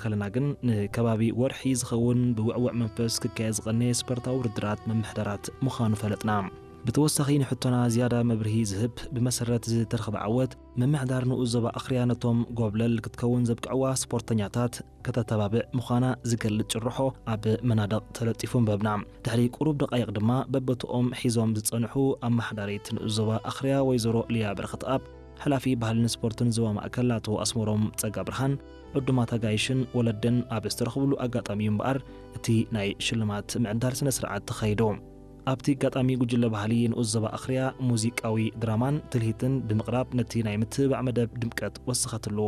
ከለና ግን ንከባቢ ወርሒ ዝኸውን ብውዕውዕ መንፈስ ክካየድ ዝቐነየ ስፖርታዊ ውድድራት ምምሕዳራት ምዃኑ ፈለጥና። ብተወሳኺ ንሕቶና ዝያዳ መብርሂ ዝህብ ብመሰረት ዝተረኽበ ዓወት ምምሕዳር ንኡስ ዞባ ኣኽርያ ነቶም ጎብለል ክትከውን ዘብቅዕዋ ስፖርተኛታት ከተተባብዕ ምዃና ዝገልጽ ጭርሖ ኣብ መናድቕ ተለጢፉ ኣንበብና። ድሕሪ ቁሩብ ደቃይቕ ድማ በበትኦም ሒዞም ዝጸንሑ ኣመሓዳሪት ንኡስ ዞባ ኣኽርያ ወይዘሮ ሊያ በረኸትኣብ፣ ሓላፊ ባህልን ስፖርትን ዞባ ማእከል ኣቶ ኣስመሮም ጸጋብርሃን፣ ዕዱማት ኣጋይሽን ወለድን ኣብ ዝተረኽብሉ ኣጋጣሚ እዩ እምበኣር እቲ ናይ ሽልማት ምዕዳል ስነ ስርዓት ተኻይዱ። ኣብቲ ኣጋጣሚ ጉጅለ ባህሊ ንኡስ ዞባ ኣኽርያ ሙዚቃዊ ድራማን ትልሂትን ብምቕራብ ነቲ ናይ ምትብባዕ መደብ ድምቀት ወሰኸትሉ።